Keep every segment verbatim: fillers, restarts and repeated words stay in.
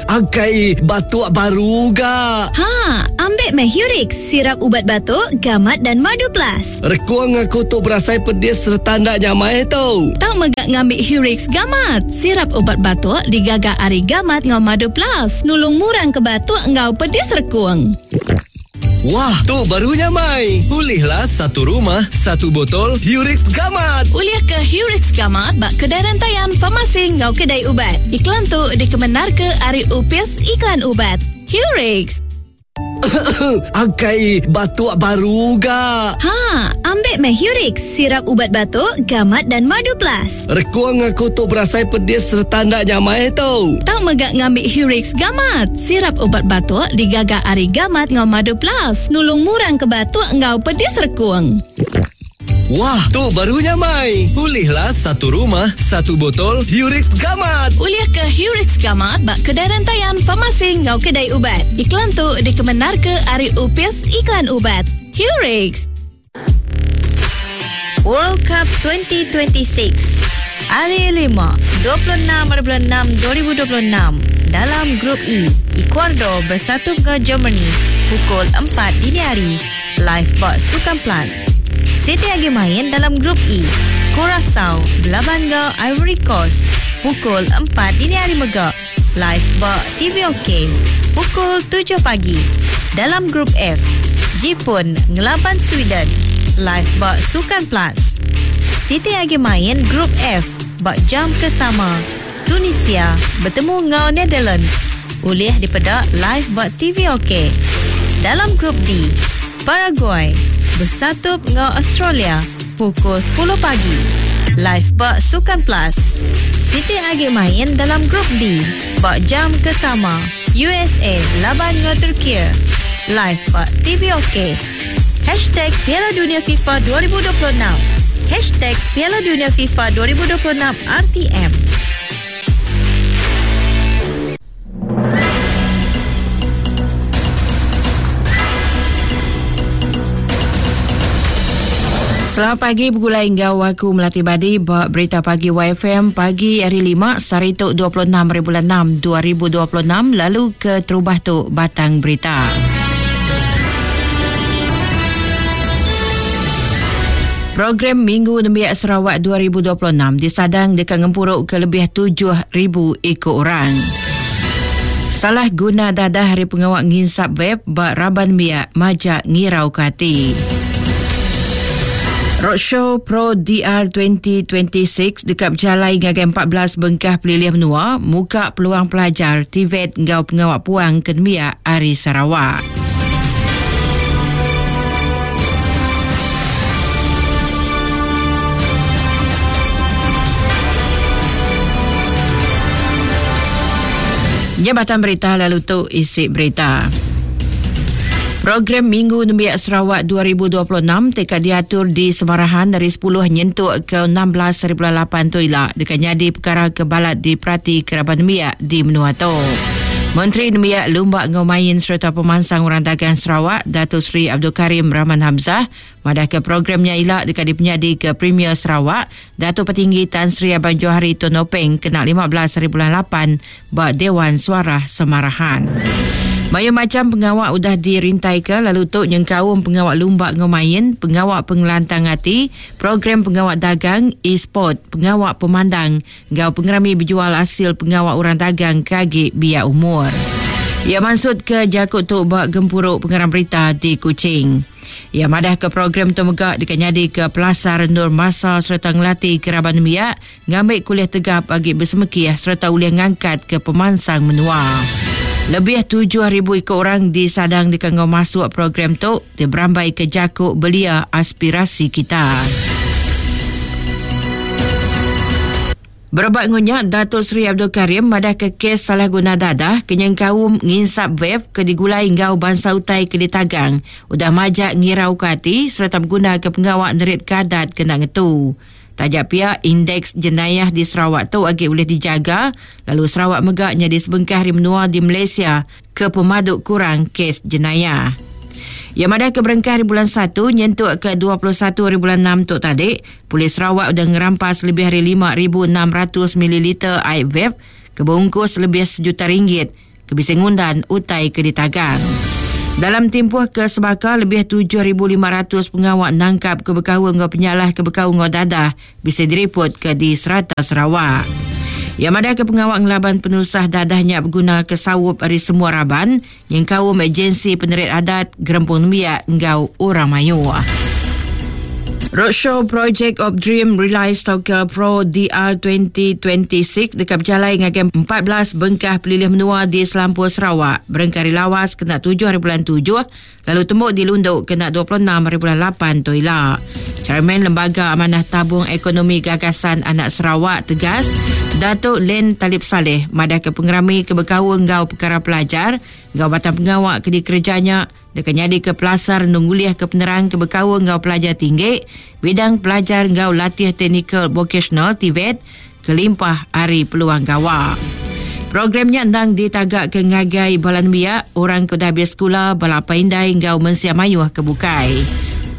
Angkai batuk baru ga. Ha, ambil meh Hurix, sirap ubat batuk, gamat dan madu plus. Rekuang aku tu berasai pedis serta ndak nyamai tu. Tau megak ngambil Hurix gamat. Sirap ubat batuk digaga ari gamat ngau madu plus. Nulung murang ke batuk ngau pedis rekuang. Wah, tu baru nyamai. Ulihlah satu rumah, satu botol Hurix Gamat. Ulih ke Hurix Gamat bak kedai rantaian farmasi ngau kedai ubat. Iklan tu dikemenar ke ari Upis Iklan Ubat. Hurix. Angkai batuk baru ga. Ha, ambil meh Hurix, sirap ubat batuk, gamat dan madu plus. Rekuang aku tu berasai pedis serta ndak nyamai tu. Tau megak ngambil Hurix Gamat. Sirap ubat batuk digaga ari gamat ngau madu plus. Nulung murang ke batuk ngau pedis rekuang. Wah, tu baru nyamai. Ulihlah satu rumah, satu botol Hurix Gamat. Ulih ke Hurix Gamat bak kedai rantaian farmasi ngau kedai ubat. Iklan tu dikemenar ke ari Upis Iklan Ubat. Hurix. World Cup dua ribu dua puluh enam. Hari lima, dua puluh enam bulan enam dua ribu dua puluh enam. Dalam grup E, Ecuador bersatu ke Germany pukul empat dini hari. Live bak Sukan Plus. City lagi main dalam grup E. Curacao berlawan ke Ivory Coast pukul empat dini hari megak. Live bak T V OK pukul tujuh pagi. Dalam grup F, Jepun ngelaban Sweden. Live bak Sukan Plus. City lagi main grup F bak jam kesama. Tunisia bertemu ngau Netherlands. Ulih dipedak live bak T V OK. Dalam grup D, Paraguay bersatu dengan Australia pukul sepuluh pagi. Live bak Sukan Plus. City lagi main dalam grup D bak jam kesama. U S A laban dengan Turki. Live bak T V OK. Hashtag Piala Dunia FIFA dua ribu dua puluh enam. Hashtag Piala Dunia FIFA dua ribu dua puluh enam R T M. Selamat pagi bergulai ngau aku Melati Badi buat berita pagi Y F M pagi hari lima sehari tu dua puluh enam hari bulan enam dua ribu dua puluh enam lalu ke terubah tu batang berita. Program Minggu Nembiak Sarawak dua ribu dua puluh enam disadang dekat ngempuruk ke lebih tujuh ribu ekor orang. Salah guna dadah hari pengawak nginsap web bak raban miak majak ngirau ke hati. Roadshow Pro D R dua ribu dua puluh enam dekat berjalai ngagai empat belas bengkah pelilih menua muka peluang pelajar T V E T ngau pengawak puang ke Nembiak Ari Sarawak. Jabatan Berita lalu tu isi berita. Program Minggu Nembiak Sarawak dua ribu dua puluh enam tekad diatur di Semarahan dari sepuluh nyentuk ke enam belas hari bulan lapan tu ila dekat nyadi perkara kebalat di Prati Kerabat Nembiak di Menua tu. Menteri Nembiak Lumba Ngau Main serta Pemansang Orang Dagang Sarawak Datuk Seri Abdul Karim Rahman Hamzah madah ke programnya ila dekat dipenyadi ke Premier Sarawak Datuk Petinggi Tan Sri Abang Johari Tun Openg kena lima belas hari bulan lapan bak Dewan Suara Semarahan. Banyak macam pengawak udah dirintai ke lalu tu nyengkaum pengawak lumba ngomain, pengawak pengelantang hati, program pengawak dagang, e-sport, pengawak pemandang, gau pengerami berjual hasil pengawak orang dagang kagi biak umur. Ia maksud ke jakut tu bak gempuruk pengarang berita di Kuching. Ia madah ke program tu megak dekat nyadi ke Pelasar Nur Masa serta ngelatih keraban miak ngambil kuliah tegap bagi bersemekiah serta ulih ngangkat ke pemansang menua. Lebih tujuh ribu ekor orang disadang di kangau masuk program tu dia berambai ke jakuk belia aspirasi kita. Berebak ngunyak Datuk Seri Abdul Karim madah ke kes salah guna dadah kenyang kaum nginsap vape ke digulai ngau bangsa utai ke ditagang udah majak ngirau ke hati serta berguna ke pengawak nerit kadat kena ngetu. Tajak pihak indeks jenayah di Sarawak tu agak boleh dijaga lalu Sarawak megak jadi sebengkah hari menua di Malaysia ke pemaduk kurang kes jenayah. Yang madah ke berengkah hari bulan satu nyentuk ke dua puluh satu hari bulan enam tu tadi, Polis Sarawak sudah ngerampas lebih dari lima ribu enam ratus mililiter air vape Kebungkus lebih sejuta ringgit ke bisa ngundan utai ke ditagang. Dalam tempoh ke sebaka lebih tujuh ribu lima ratus pengawak nangkap ke bekau ngau penyalah ke bekau ngau dadah bisa diriput ke di serata Sarawak. Yang ada ke pengawak ngelaban penusah dadahnya berguna ke sawup dari semua raban yang kaum agensi penerit adat gerempung nembiak ngau orang mayu. Roadshow Project of Dream Realize Tauka Pro D R dua ribu dua puluh enam dekat berjalai ngagai empat belas bengkah pelilih menua di Selampur Sarawak. Berengkari lawas kena tujuh hari bulan tujuh, lalu tembuk di Lunduk kena dua puluh enam hari bulan lapan toila. Chairman Lembaga Amanah Tabung Ekonomi Gagasan Anak Sarawak tegas, Datuk Len Talib Saleh madah ke pengerami kebekau ngau perkara pelajar, ngau batang pengawak ke dikerjanya dekat nyadi ke pelasar nungguliah ke penerang ke bekau ngau pelajar tinggi, bidang pelajar ngau latih teknikal vocational T V E T, kelimpah hari peluang gawa. Programnya endang ditagak ke ngagai balan biak, orang ke dah habis sekolah, bala indai ngau mensia mayuh ke bukai.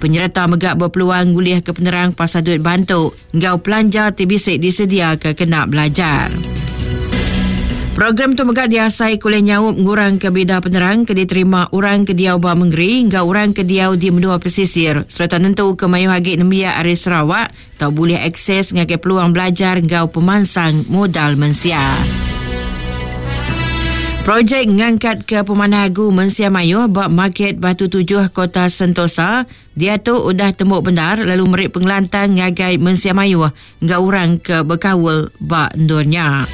Penyerta megak berpeluang nguliah ke penerang pasal duit bantu ngau pelanja T B C disedia ke kena belajar. Program tu megak diasai kuliah nyaup ngurang ke bida penerang ke diterima orang ke diau ba mengeri ngau orang ke diau di menua pesisir serta nentu ke mayuh agi nembiak ari Sarawak tau boleh akses ngagai peluang belajar ngau pemansang modal mensia. Projek ngangkat ke pemanah agu mensia mayuh ba market Batu Tujuh Kota Sentosa dia tu udah tembuk benar lalu merik pengelantang ngagai mensia mayuh ngau orang ke bekawal ba ndurnya.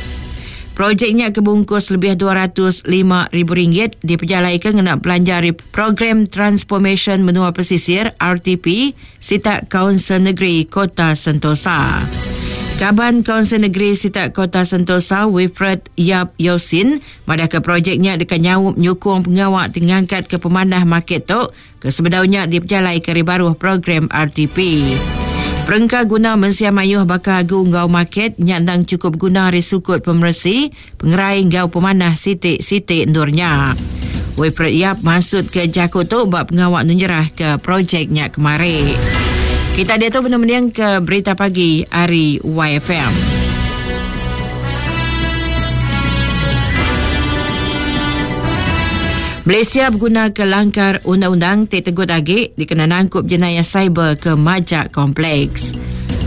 Projeknya kebungkus lebih dua ratus lima ribu ringgit diperjalaikan kena belanja program Transformation Menua Pesisir R T P Sitak Kaunsil Negeri Kota Sentosa. Kaban Kaunsil Negeri Sitak Kota Sentosa Wilfred Yap Yosin madah ke projeknya dekat nyaup nyukung pengawak tingangkat ke pemanah market tu ke sebedaunya diperjalai ke ribaruh program R T P. Perengka guna mensia mayuh bakal agu ngau market nyandang cukup guna hari sukut pemersi pengerai ngau pemanah sitik-sitik ndurnya. Wilfred Yap masuk ke Jakut tu bab pengawak nunjerah ke projeknya kemari. Kita dia tu benar-benar ke berita pagi hari Y F M. Malaysia berguna ke langkar undang-undang tik tegut agi dikena nangkup jenayah cyber ke majak kompleks.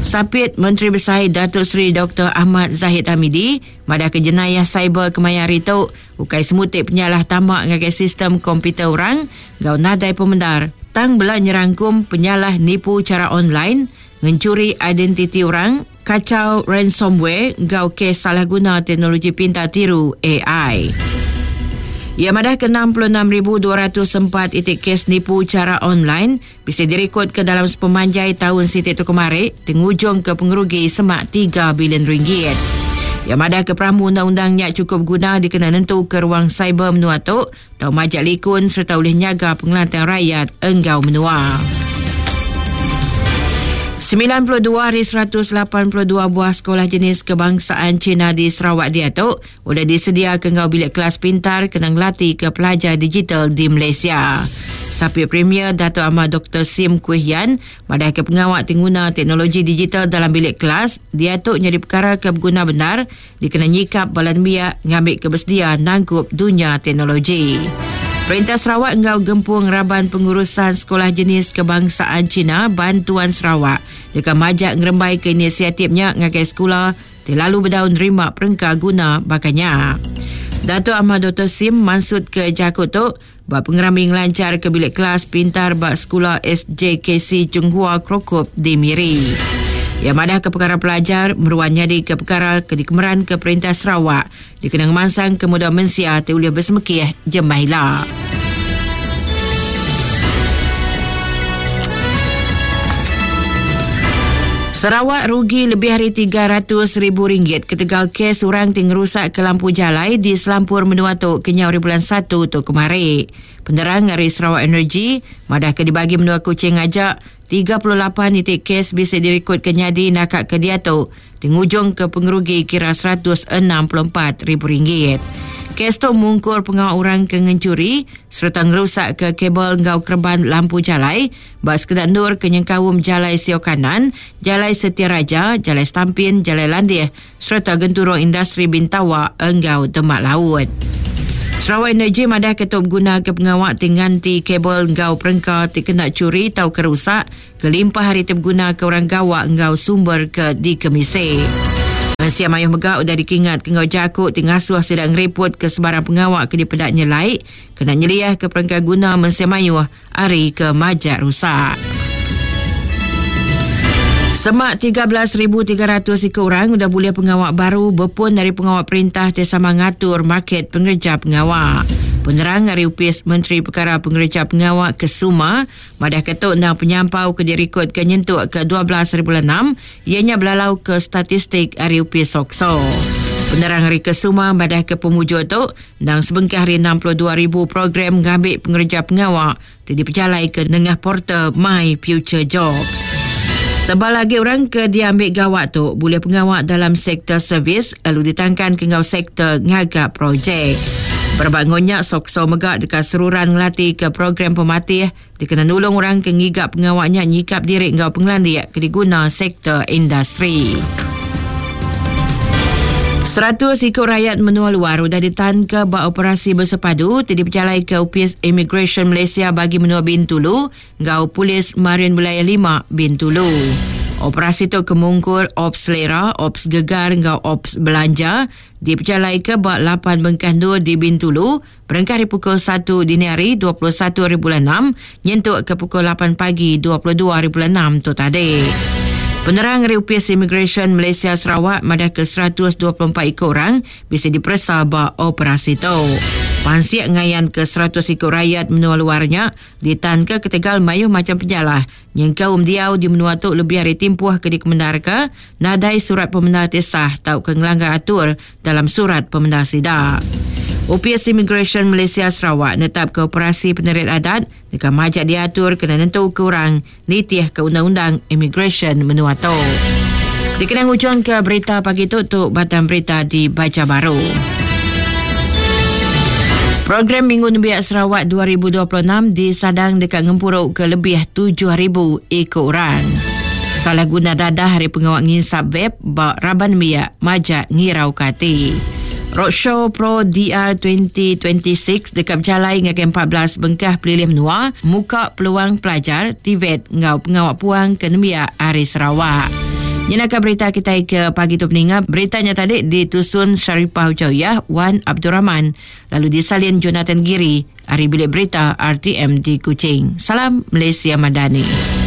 Sapit Menteri Besar Datuk Seri Doktor Ahmad Zahid Hamidi madah ke jenayah cyber kemaya hari tu ukai semutik penyalah tamak ngagai sistem komputer orang gau nadai pemendar tang bela nyerangkum penyalah nipu cara online ngencuri identiti orang kacau ransomware gau kes salah guna teknologi pintar tiru A I. Ia madah ke enam puluh enam ribu dua ratus empat itik kes nipu cara online bisa direkod ke dalam sepemanjai tahun sitik tu kemarin tengujung ke pengerugi semak tiga bilion ringgit. Ia madah ke peramu undang-undangnya cukup guna dikena nentu ke ruang cyber menua tu tau majak likun serta boleh nyaga pengelantang rakyat enggau menua. sembilan puluh dua dari seratus lapan puluh dua buah sekolah jenis kebangsaan Cina di Sarawak diatu sudah disediakan ngau bilik kelas pintar kena ngelatih ke pelajar digital di Malaysia. Sapit Premier Dato' Ahmad Doktor Sim Kui Hian madah ke pengawak tingguna teknologi digital dalam bilik kelas diatu jadi perkara ke berguna benar dikena nyikap balan biak ngambil kebersedia nangkup dunia teknologi. Perintah Sarawak enggau gempung raban pengurusan sekolah jenis kebangsaan Cina Bantuan Sarawak dekat majak ngerembai ke inisiatifnya ngagai sekolah terlalu berdaun nerima perengka guna bakanya. Dato' Ahmad Doktor Sim maksud ke Jakut tu buat pengerami ngelancar ke bilik kelas pintar bak sekolah S J K C Chunghua Krokop di Miri. Yang madah ke perkara pelajar meruan nyadi ke perkara ke dikemeran ke Perintah Sarawak dikenang mansang ke muda mensia te ulih bersemekih jemaila. Sarawak rugi lebih hari tiga ratus ribu ringgit ketegal kes orang ting rusak ke lampu jalai di Selampur Menua tu kenyau hari bulan satu tu kemari. Penerang dari Sarawak Energy madah ke dibagi menua Kuching ajak tiga puluh lapan titik kes bisa direkod ke nyadi nakak ke diatu tengujung ke pengerugi kira seratus enam puluh empat ribu ringgit. Kes tu mungkur pengawal orang ke ngencuri serta ngerusak ke kabel ngau kerban lampu jalai bak sekedar nur ke nyengkaum Jalai Sio Kanan, Jalai Setia Raja, Jalai Stampin, Jalai Landih serta genturung industri Bintawa enggau Demak Laut. Sarawak Energy madah ketup guna ke pengawak tingganti kabel ngau perengka ti kena curi tau kerusak kelimpah hari terguna ke orang gawak ngau sumber ke dikemise. Malaysia mayuh megak udah dikingat ke ngau jakuk ti ngasuh sedang ngeriput ke sebarang pengawak ke dipedak nyelai kena nyeliah ke perengka guna mensia mayuh hari ke majak rusak. Semak tiga belas ribu tiga ratus ikut orang udah boleh pengawak baru berpun dari pengawak perintah ti sama ngatur market pengerja pengawak. Penerang dari Upis Menteri Perkara Pengerja Pengawak Kesuma madah ketuk nang penyampau ke dirikod ke nyentuk ke dua belas ribu enam ianya belalau ke statistik dari Upis Sokso. Penerang hari Kesuma madah ke pemujuk tu nang sebengkah hari enam puluh dua ribu program ngambil pengerja pengawak ti dipejalai ke nengah portal My Future Jobs. Tebal lagi orang ke diambil gawak tu boleh pengawak dalam sektor servis lalu ditangkan ke ngau sektor ngagak projek. Berbangunnya Sokso megak dekat seruran ngelatih ke program pematih dikena nulung orang ke ngigap pengawaknya nyikap diri ngau pengelandik ke diguna sektor industri. Seratus ikut rakyat menua luar sudah ditahan ke bak operasi bersepadu ti diperjalai ke Upis Immigration Malaysia bagi menua Bintulu ngau Polis Marin Wilayah lima Bintulu. Operasi tu kemungkur Ops Selera, Ops Gegar ngau Ops Belanja diperjalai ke bak lapan bengkah dua di Bintulu berengkah dari pukul satu dini hari dua puluh satu hari bulan enam nyentuk ke pukul lapan pagi dua puluh dua hari bulan enam tu tadi. Penerang dari Upis Immigration Malaysia Sarawak madah ke seratus dua puluh empat ikut orang bisa diperiksa bak operasi tu. Pansiak ngayan ke seratus ikut rakyat menua luarnya ditahan ke ketegal mayuh macam penjalah yang kaum diau di menua tu lebih hari timpuh ke dikemenar ke nadai surat pemenar tisah tau ke ngelanggar atur dalam surat pemenar sidak. Upis Immigration Malaysia Sarawak netap ke operasi penerit adat dekat majak diatur kena nentu kurang nitih ke undang-undang immigration menua tu. Dikenang ujung ke berita pagi tu tu batang berita dibaca baru. Program Minggu Nembiak Sarawak dua ribu dua puluh enam disadang dekat ngempuruk ke lebih tujuh ribu ekor orang. Salah guna dadah hari pengawak nginsap vape bak raban nembiak majak ngirau kati. Roadshow Pro D R dua ribu dua puluh enam dekat berjalai ngagai empat belas bengkah pelilih menua muka peluang pelajar T V E T ngau pengawak puang ke nembiak hari Sarawak. Nyenaka berita kita ke pagi tu peningat. Beritanya tadi ditusun Sharifah Ujayah Wan Abdul Rahman lalu disalin Jonathan Giri hari bilik berita R T M di Kuching. Salam Malaysia Madani.